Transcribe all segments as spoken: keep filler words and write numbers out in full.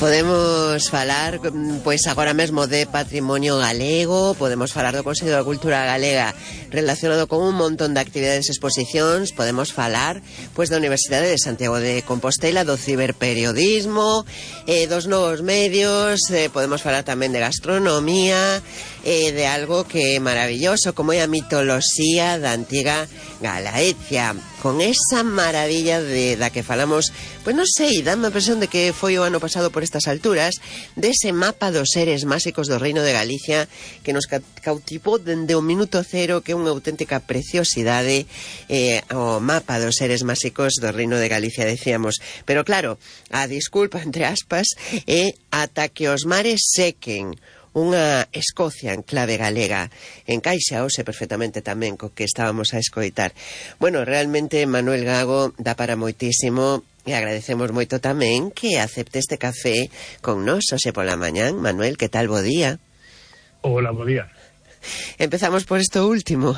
Podemos falar, pois agora mesmo de patrimonio galego, podemos falar do Consello da Cultura Galega relacionado con un montón de actividades e exposicións, podemos falar pois da Universidade de Santiago de Compostela, do ciberperiodismo, eh, dos novos medios, eh, podemos falar tamén de gastronomía, eh, de algo que é maravilloso, como é a mitoloxía da antiga Galaecia, con esa maravilla de, da que falamos, pois non sei, dame a impresión de que foi o ano pasado por estas alturas, dese mapa dos seres máxicos do Reino de Galicia que nos cautivou dende o minuto cero, que é unha auténtica preciosidade, eh, o mapa dos seres máxicos do Reino de Galicia, decíamos. Pero claro, a disculpa entre aspas é ata que os mares sequen. Unha Escocia en clave galega encaixa hoxe perfectamente tamén co que estábamos a escoitar. Bueno, realmente Manuel Gago dá para moitísimo e agradecemos moito tamén que acepte este café con nós hoxe pola mañán. Manuel, que tal, bo día? Hola, bo día. Empezamos por isto último,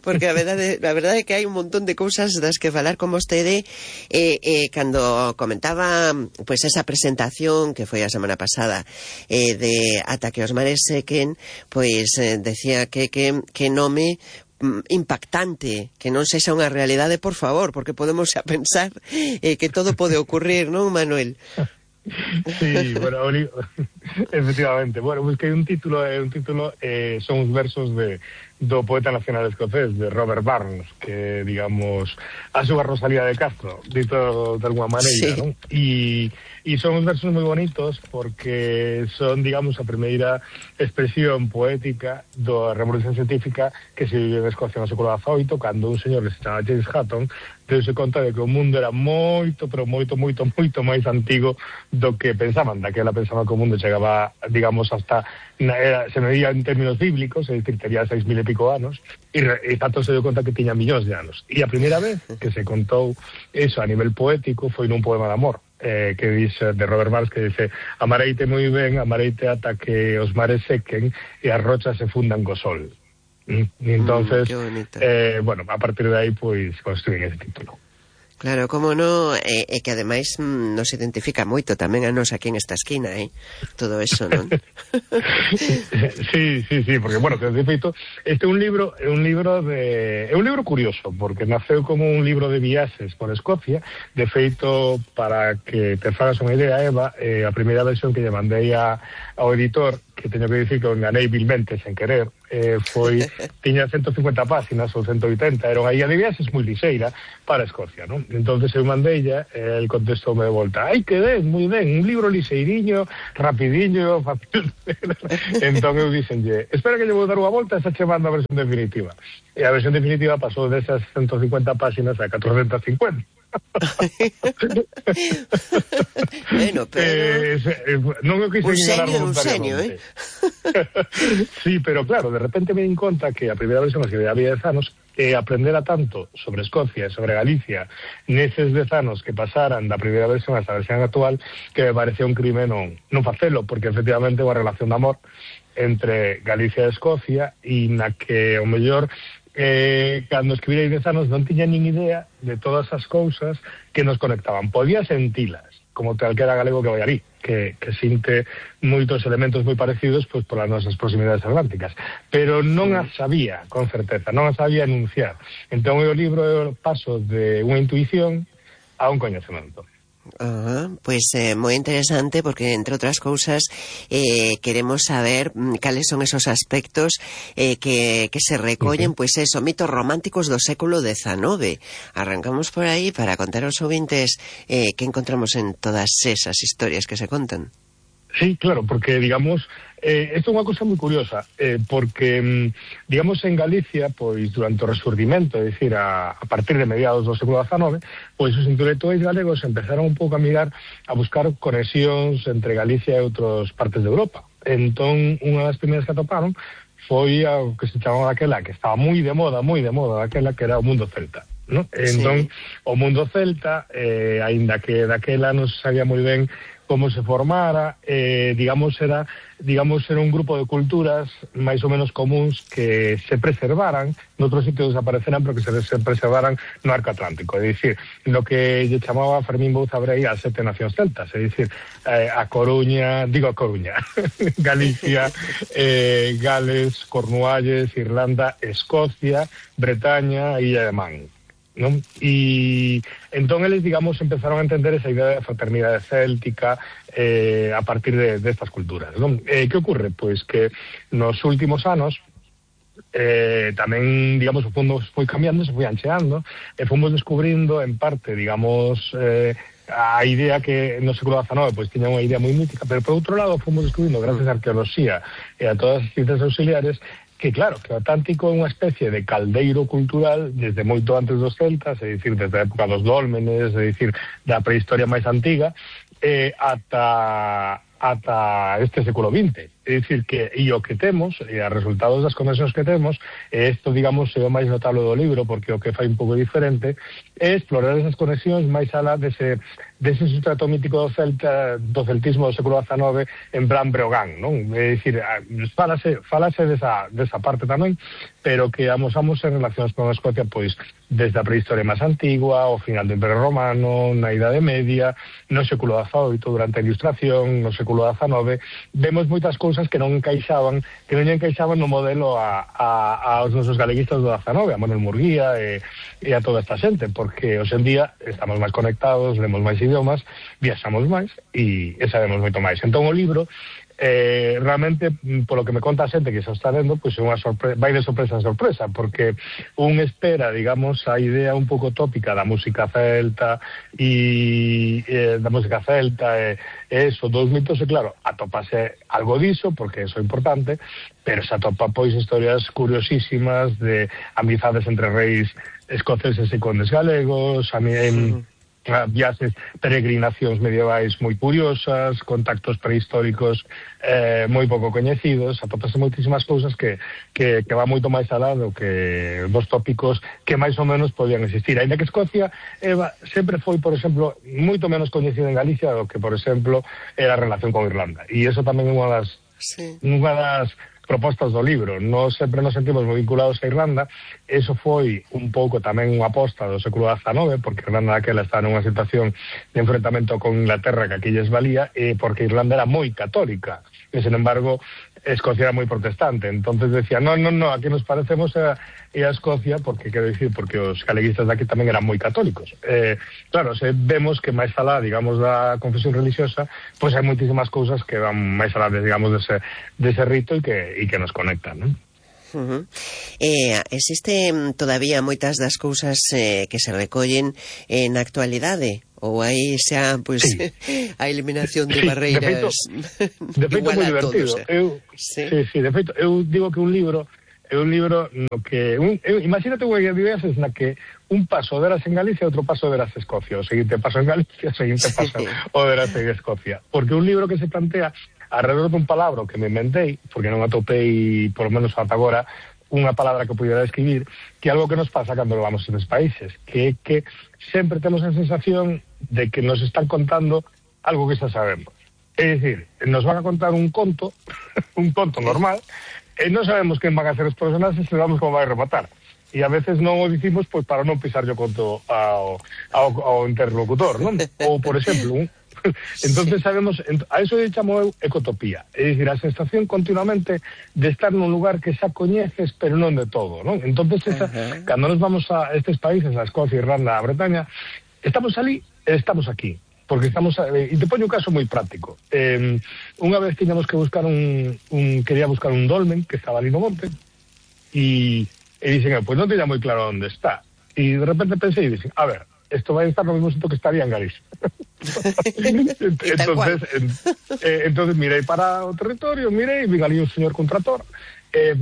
porque a verdade, a verdade é que hai un montón de cousas das que falar con vostede. eh, eh, cando comentaba pois esa presentación que foi a semana pasada, eh, de Ata que os mares sequen, pois eh, decía que, que, que nome impactante, que non sexa unha realidade, por favor, porque podemos a pensar eh, que todo pode ocurrir, non, Manuel? Sí, bueno, efectivamente. Bueno, busquei un título, é un título, eh, son os versos de do poeta nacional escocés, de Robert Burns, que, digamos, a súa Rosalía de Castro, dito de alguma maneira, sí. Non? E, e son uns versos moi bonitos porque son, digamos, a primeira expresión poética da revolución científica que se vive en Escocia no século dezaoito, cando un señor que se chama James Hutton deu-se conta de que o mundo era moito, pero moito, moito, moito máis antigo do que pensaban. Daquela pensaba que o mundo chegaba, digamos, hasta era, se medía en términos bíblicos, é dicir, tería seis mil e pico anos, e, e tanto se deu conta que tiña millóns de anos. E a primeira vez que se contou eso a nivel poético foi nun poema de amor, eh, que dice, de Robert Burns, que dice: amareite moi ben, amareite ata que os mares sequen e as rochas se fundan co sol. E entonces, mm, eh, bueno, a partir de aí, pois, construín ese título. Claro, como no, e eh, eh, que ademais mm, nos identifica moito tamén a nos aquí en esta esquina, eh? Todo eso, non? Sí, sí, sí, porque, bueno, que de feito, este é un libro, é un libro de... é un libro curioso, porque naceu como un libro de viaxes por Escocia. De feito, para que te fagas unha idea, Eva, eh, a primeira versión que lle mandei a, ao editor, que teño que dicir que o enganei vilmente sen querer, eh, foi, tiña ciento cincuenta páxinas ou ciento oitenta, era unha guía de viaxes moi lixeira para Escocia, non? Entonces eu mandeilla, eh, el contestoume de volta: ai, que ben, moi ben, un libro lixeiriño, rapidiño, fácil. Entón eu dixenlle: espera que lle vou dar unha volta e xa che mando a versión definitiva. E a versión definitiva pasou desas ciento cincuenta páxinas a catrocentas cincuenta. Bueno, pero eh, eh, non o quise un ignorar seño, un seño, eh? Sí, pero claro, de repente me di conta que a primeira versión que había dez anos, e aprendera tanto sobre Escocia e sobre Galicia neses dez anos que pasaran da primeira versión hasta a versión actual, que me parecía un crime non, non facelo, porque efectivamente é unha relación de amor entre Galicia e Escocia, e na que o mellor eh, cando escribirei dez anos non tiña nin idea de todas as cousas que nos conectaban. Podía sentilas, como calquera galego que vai ali, que, que sinte moitos elementos moi parecidos pois polas nosas proximidades atlánticas, pero non as sabía con certeza, non as sabía enunciar. Entón o libro é o paso de unha intuición a un coñecemento. Uh, pois é eh, moi interesante, porque entre outras cousas eh, queremos saber mm, cales son esos aspectos eh, que, que se recollen, uh -huh. pois eso, mitos románticos do século dezenove. Arrancamos por aí para contar aos ouvintes eh, que encontramos en todas esas historias que se contan. Sí, claro, porque, digamos, eh, isto é unha cosa moi curiosa, eh, porque, digamos, en Galicia, pois, durante o resurdimento, é dicir, a, a partir de mediados do século dezenove, pois os intelectuais galegos empezaron un pouco a mirar, a buscar conexións entre Galicia e outras partes de Europa. Entón, unha das primeiras que atoparon foi a que se chamaba aquela, que estaba moi de moda, moi de moda, aquela que era o mundo celta. ¿no? Entón, sí. O mundo celta, eh, aínda que daquela non se sabía moi ben como se formara, eh, digamos, era digamos era un grupo de culturas máis ou menos comuns que se preservaran, noutros sitios desapareceran, pero que se, se preservaran no arco atlántico, é dicir, no que lle chamaba Fermín Bouza Brei as sete nacións celtas, é dicir, eh, a Coruña, digo a Coruña, Galicia, eh, Gales, Cornualles, Irlanda, Escocia, Bretaña e Illa de Man. ¿No? Y entón eles, digamos, empezaron a entender esa idea de fraternidade céltica eh, a partir de, de estas culturas, ¿no? Eh, que ocurre? Pois que nos últimos anos eh, tamén, digamos, o fondo foi cambiando, se foi ancheando, e fomos descubrindo, en parte, digamos, eh, a idea que no século diecinueve pois tiña unha idea moi mítica, pero por outro lado fomos descubrindo, gracias á arqueoloxía e a todas as ciencias auxiliares, que claro, que o Atlántico é unha especie de caldeiro cultural desde moito antes dos celtas, é dicir, desde a época dos dólmenes, é dicir, da prehistoria máis antiga, eh, ata, ata este século vinte. É dicir, que e o que temos, e a resultados das conexións que temos, e isto, digamos, é o máis notable do libro, porque o que fai un pouco diferente, é explorar esas conexións máis alá dese, dese sustrato mítico do celta, do celtismo do século diecinueve, en plan Breogán, non? É dicir, falase, falase desa, desa parte tamén, pero que amosamos en relacións con a Escocia, pois, desde a prehistoria máis antigua, ao final do Imperio Romano, na Idade Media, no século diecioito, durante a Ilustración, no século diecinueve, vemos moitas cousas que non encaixaban, que non encaixaban no modelo a, a, aos nosos galeguistas do diecinueve, a Manuel Murguía e, e a toda esta xente, porque hoxe en día estamos máis conectados, lemos máis idiomas, viaxamos máis e, e sabemos moito máis. Entón o libro, eh, realmente, polo que me conta a xente que se está vendo, pois é unha sorpresa, vai de sorpresa en sorpresa, porque un espera, digamos, a idea un pouco tópica da música celta e eh, da música celta e eh, eso, dos mitos, e claro, atopase algo diso, porque eso é importante, pero se atopa pois historias curiosísimas de amizades entre reis escoceses e condes galegos, a mí en viaxes, peregrinacións medievais moi curiosas, contactos prehistóricos eh, moi pouco coñecidos, atopase moitísimas cousas que, que, que va moito máis alá do que dos tópicos que máis ou menos podían existir. Ainda que Escocia Eva, sempre foi, por exemplo, moito menos coñecida en Galicia do que, por exemplo, era a relación con Irlanda. E iso tamén é unha das, sí. unha das propostas do libro. Nós sempre nos sentimos moi vinculados a Irlanda. Eso foi un pouco tamén unha aposta do século diecinueve, porque Irlanda daquela está nunha situación de enfrentamento con Inglaterra que aquí lles valía, e porque Irlanda era moi católica, e, sin embargo, Escocia era moi protestante. Entonces decía, no, no, no, aquí nos parecemos a, a Escocia, porque, quero dicir, porque os galeguistas daqui tamén eran moi católicos. Eh, claro, se vemos que máis alá, digamos, da confesión religiosa, pois hai moitísimas cousas que van máis alá, de, digamos, dese, dese rito e que, e que nos conectan, non? Uh-huh. Eh, existe todavía moitas das cousas eh, que se recollen en actualidade? Ou aí xa, pois, pues, sí. a eliminación de barreiras de feito, igual a todos? Eh? Eu, sí? Sí, sí, de feito, eu digo que un libro é un libro no que un, eu, imagínate unha viveces na que un paso verás en Galicia e outro paso verás en Escocia, o seguinte paso en Galicia, o seguinte paso sí. o verás en Escocia, porque un libro que se plantea alrededor dun palabra que me inventei, porque non atopei, por lo menos ata agora, unha palabra que pudiera describir, que é algo que nos pasa cando vamos a estes países, que é que sempre temos a sensación de que nos están contando algo que xa sabemos. É dicir, nos van a contar un conto, un conto normal, e non sabemos quen van a ser os personaxes e sabemos como vai rematar. E a veces non o dicimos pois para non pisar yo conto ao, ao, ao interlocutor, non? Ou, por exemplo, un entonces sabemos, a eso eu chamo eu ecotopía, é dicir, a sensación continuamente de estar nun lugar que xa coñeces, pero non de todo, non? Entonces, esa, uh-huh. cando nos vamos a estes países, a Escocia, Irlanda, a Bretaña, estamos ali e estamos aquí, porque estamos, e te poño un caso moi práctico. Eh, unha vez tiñamos que buscar un, un, quería buscar un dolmen que estaba ali no monte, e, e dixen, pois non teña moi claro onde está, e de repente pensei e dixen, a ver, esto vai a estar no mismo sitio que estaría en Galicia. entonces, en, eh, entonces mirei para o territorio, mirei, vin ali un señor con trator, E,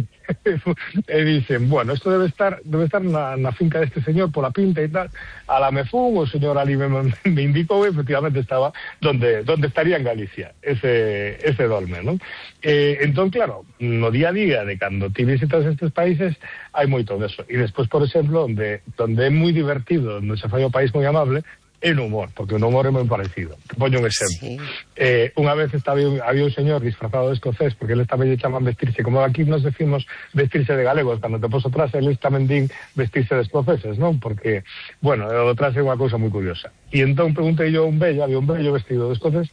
e dicen, bueno, isto debe estar debe estar na, na finca deste señor pola pinta e tal. A la me fun, o señor ali me, me indicou e efectivamente estaba donde donde estaría en Galicia ese ese dolmen, non? E, entón, claro, no día a día de cando ti visitas estes países hai moito deso. E despois, por exemplo, onde donde é moi divertido, onde se fai o país moi amable, é no humor, porque o humor é moi parecido. Te poño un exemplo. Sí. Eh, unha vez estaba, había un señor disfrazado de escocés, porque eles tamén lle chaman vestirse, como aquí nos decimos vestirse de galegos, cando te poso atrás, eles tamén din vestirse de escoceses, non? Porque, bueno, o atrás é unha cousa moi curiosa. E entón preguntei yo a un vello, había un vello vestido de escocés,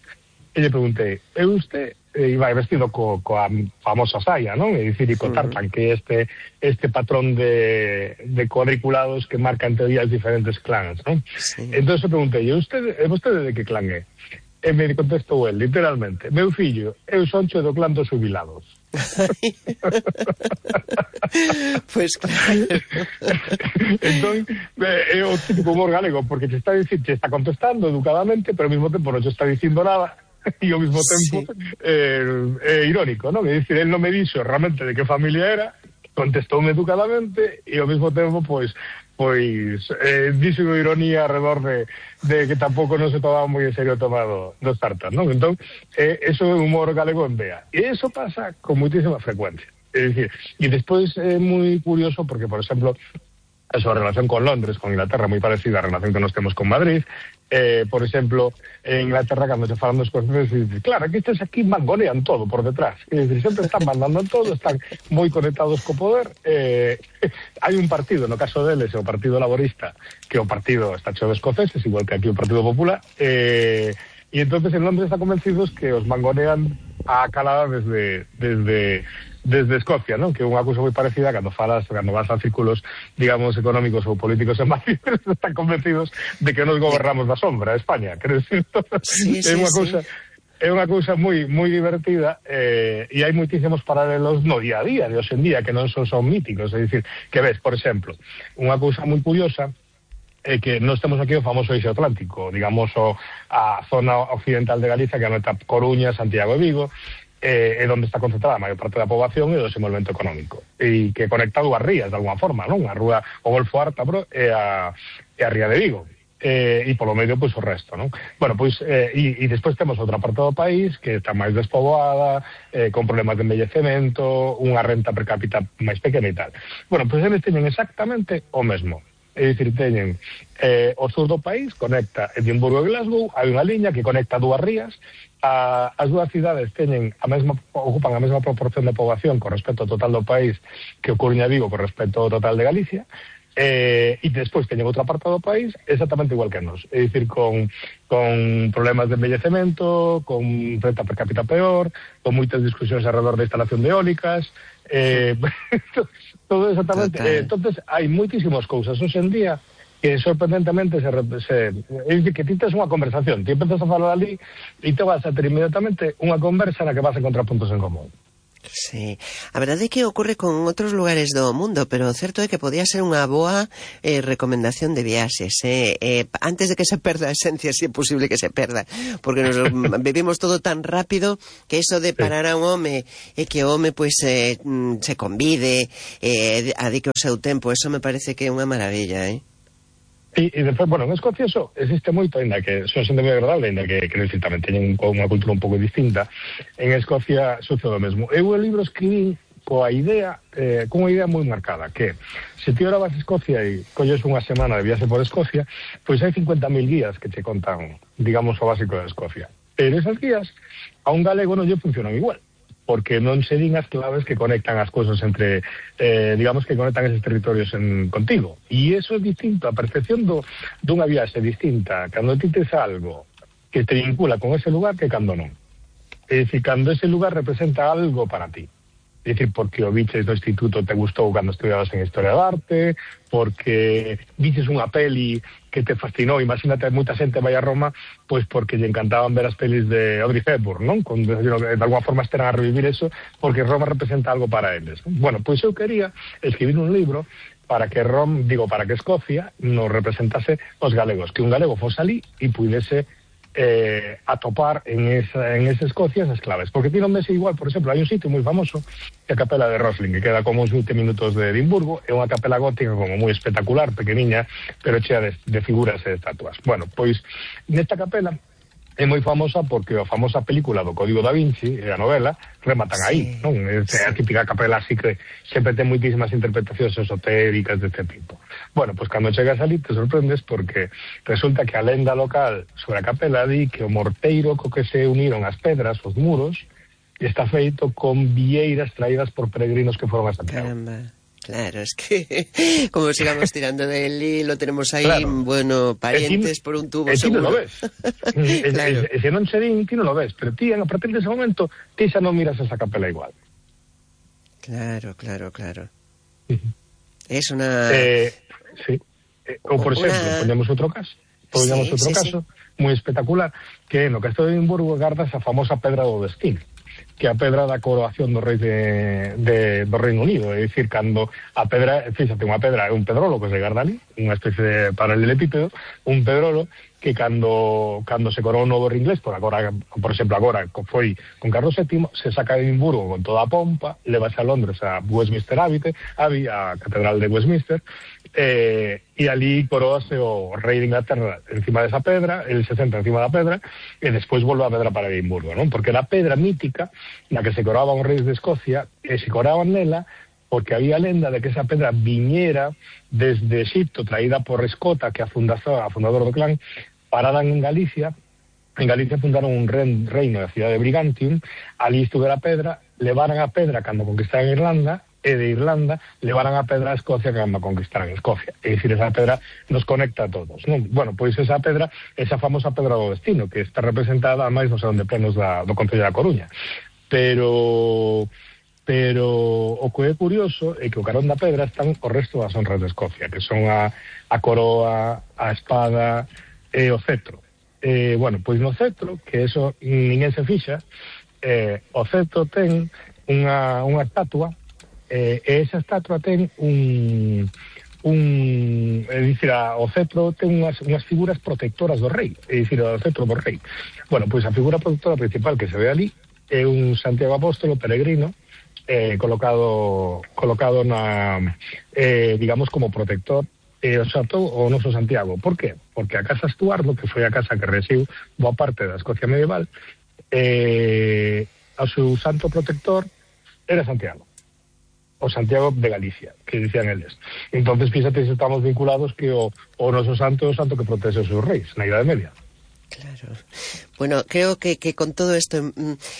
e lle preguntei, é usted... e vai vestido co, coa famosa saia, non? É dicir, e co tartan, que este este patrón de, de cuadriculados que marca en teoría os diferentes clans, non? Sí. Entón se preguntei, e vostede, e vostede de que clan é? E me contestou el, literalmente, meu fillo, eu soncho do clan dos jubilados. Pois pues claro. Entón, é o típico humor galego, porque te está dicindo, te está contestando educadamente, pero ao mesmo tempo non te está dicindo nada, e ao mesmo tempo sí. eh, é irónico, non? É dicir, él non me dixo realmente de que familia era, contestoume educadamente e ao mesmo tempo, pois, pois eh, dixo ironía alrededor de, de que tampouco non se tomaba moi en serio tomado dos tartas, non? Entón, eh, eso é humor galego en vea. E eso pasa con moitísima frecuencia. É dicir, e despois é moi curioso porque, por exemplo, a súa relación con Londres, con Inglaterra, moi parecida á relación que nos temos con Madrid. Eh, por exemplo, en Inglaterra, cando se falan dos escoceses, dice, claro, que estes aquí mangonean todo por detrás. É dicir, sempre están mandando todo, están moi conectados co poder. Eh, hai un partido, no caso deles, o Partido Laborista, que o partido está cheo de escoceses, igual que aquí o Partido Popular, eh, e entonces en Londres están convencidos que os mangonean a calada desde... desde desde Escocia, non? Que é unha cousa moi parecida cando falas, cando vas a círculos, digamos, económicos ou políticos en Madrid, están convencidos de que nos gobernamos da sombra a España, quero decir, sí, sí, é unha cousa sí. É unha cousa moi moi divertida, eh, e hai moitísimos paralelos no día a día de hoxe en día que non son, son míticos, é dicir, que ves, por exemplo, unha cousa moi curiosa é que nós temos aquí o famoso eixo atlántico, digamos, o, a zona occidental de Galicia, que anota Coruña, Santiago e Vigo, é eh, onde está concentrada a maior parte da poboación e do desenvolvemento económico, e que conecta dúas rías de alguma forma, non? A rúa, o Golfo Ártabro e a, e a Ría de Vigo, eh, e polo medio, pois, o resto, non? Bueno, pois, eh, e, e despois temos outra parte do país que está máis despoboada, eh, con problemas de envellecemento, unha renta per cápita máis pequena e tal. Bueno, pois eles teñen exactamente o mesmo. É dicir, teñen eh, o sur do país, conecta Edimburgo e Glasgow, hai unha liña que conecta dúas rías. A, as dúas cidades teñen a mesma, ocupan a mesma proporción de poboación con respecto ao total do país que o Coruña e Vigo con respecto ao total de Galicia, eh, e despois teñen outra parte do país exactamente igual que nós, é dicir, con, con problemas de envellecemento, con renta per cápita peor, con moitas discusións alrededor da instalación de eólicas, eh, todo exactamente. Eh, entonces hai moitísimas cousas hoxe en día que sorprendentemente se, se é dicir, que ti tes unha conversación, ti empezas a falar ali e te vas a ter inmediatamente unha conversa na que vas a encontrar puntos en común. Sí, a verdade é que ocorre con outros lugares do mundo, pero o certo é que podía ser unha boa eh, recomendación de viaxes, eh, eh, antes de que se perda a esencia, se si é posible que se perda, porque nos vivimos todo tan rápido que eso de parar a un home e que o home pois eh, se convide, eh, adique o seu tempo, eso me parece que é unha maravilla, eh? E, e despois, bueno, en Escocia eso existe moito, ainda que son xente moi agradable, ainda que, que necesita, tamén teñen unha cultura un pouco distinta. En Escocia sucede o mesmo. Eu o libro escribí coa idea, eh, con unha idea moi marcada, que se ti ahora vas a Escocia e colles unha semana de viaxe por Escocia, pois hai cincuenta mil guías que te contan, digamos, o básico de Escocia. Pero esas guías a un galego non lle funcionan igual, porque non se din as claves que conectan as cousas entre, eh, digamos, que conectan esos territorios en, contigo. E eso é distinto, a percepción do, dunha viaxe distinta, cando ti tes algo que te vincula con ese lugar que cando non. É dicir, cando ese lugar representa algo para ti. É dicir, porque o biches do instituto te gustou cando estudiabas en Historia de Arte, porque viches unha peli que te fascinou, imagínate, moita xente vai a Roma, pois porque lle encantaban ver as pelis de Audrey Hepburn, non? Con, de, de alguma forma esteran a revivir eso, porque Roma representa algo para eles. Bueno, pois eu quería escribir un libro para que Rom, digo, para que Escocia nos representase os galegos, que un galego fose ali e pudese eh, atopar en esa, en esa Escocia esas claves. Porque ti non ves igual, por exemplo, hai un sitio moi famoso, que é a Capela de Rosling, que queda como uns veinte minutos de Edimburgo, é unha capela gótica como moi espectacular, pequeniña, pero chea de, de figuras e de estatuas. Bueno, pois, nesta capela é moi famosa porque a famosa película do Código da Vinci, a novela, rematan sí, aí, non? É sí. A típica capela así que sempre ten moitísimas interpretacións esotéricas deste tipo. Bueno, pois cando chegas ali te sorprendes porque resulta que a lenda local sobre a capela di que o morteiro co que se uniron as pedras, os muros, está feito con vieiras traídas por peregrinos que foron a Santiago. Caramba. Claro, es que como sigamos tirando del hilo, tenemos ahí, claro, bueno, parientes ti, por un tubo, e ti seguro. non lo ves. Claro. E se non se din, ti non lo ves, pero ti, a partir dese momento, ti xa non miras esa capela igual. Claro, claro, claro. Uh-huh. Es una... Eh, sí. Eh, ou, por una... exemplo, poñamos outro caso, poñamos sí, outro sí, caso, sí. moi espectacular, que no Castelo de Edimburgo garda esa famosa pedra do destino, que a pedra da coroación do rei de, de, do Reino Unido, é dicir, cando a pedra, fíxate, unha pedra é un pedrolo que se garda ali, unha especie de paralelepípedo, un pedrolo que cando cando se coroou o novo rei inglés, por agora, por exemplo, agora foi con Carlos séptimo, se saca de Edimburgo con toda a pompa, levase a Londres a Westminster Abbey, Abbey a Catedral de Westminster, eh, e ali coroase o rei de Inglaterra encima desa pedra, el se senta encima da pedra, e despois volve a pedra para Edimburgo, non? Porque era a pedra mítica na que se coroaban os reis de Escocia, e se coraban nela porque había lenda de que esa pedra viñera desde Egipto, traída por Escota, que é a fundador, a fundador do clan, pararan en Galicia. En Galicia fundaron un reino da cidade de Brigantium, ali estuvera a pedra, levaran a pedra cando conquistaran Irlanda, e de Irlanda levaran a pedra a Escocia cando conquistaran Escocia. É dicir, esa pedra nos conecta a todos, non? Bueno, pois esa pedra, esa famosa pedra do destino, que está representada máis no salón de plenos da, do Concello da Coruña. Pero... pero o que é curioso é que o carón da pedra están o resto das honras de Escocia, que son a, a coroa, a espada e o cetro. Eh, bueno, pois no cetro, que eso ninguén se fixa, eh, o cetro ten unha, unha estatua, eh, e esa estatua ten un... un é dicir, a, o cetro ten unhas, unhas figuras protectoras do rei, é dicir, o cetro do rei. Bueno, pois a figura protectora principal que se ve ali é un Santiago Apóstolo peregrino, eh, colocado colocado na, eh, digamos, como protector, e o xatou o noso Santiago. Por qué? Porque a casa Estuardo, que foi a casa que resiu boa parte da Escocia medieval, eh, o seu santo protector era Santiago, o Santiago de Galicia, que dicían eles. Entonces, fíxate se estamos vinculados que o, o noso santo é o santo que protege os seus reis na Idade Media. Claro. Bueno, creo que, que con todo isto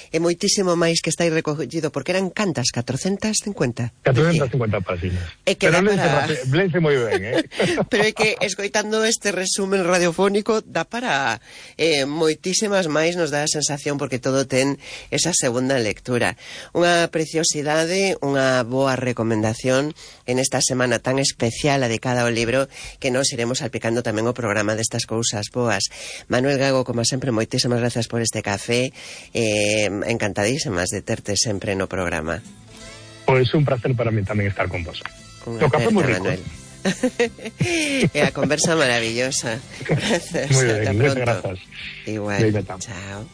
é moitísimo máis que está aí recollido, porque eran cantas, catrocentas cincuenta? catrocentas cincuenta páxinas. É que pero para... lense moi ben, eh? Pero é que, escoitando este resumen radiofónico, dá para eh, moitísimas máis, nos dá a sensación, porque todo ten esa segunda lectura. Unha preciosidade, unha boa recomendación en esta semana tan especial dedicada ao libro, que nos iremos salpicando tamén o programa destas cousas boas. Manuel Gago, como sempre, moitísimas gracias por este café, eh, encantadísimas de terte sempre no programa. Pois un placer para mí tamén estar con vos. O café moi rico. Manuel. E a conversa maravillosa. Gracias. Muy bien, hasta pronto. Gracias. Igual. Chao.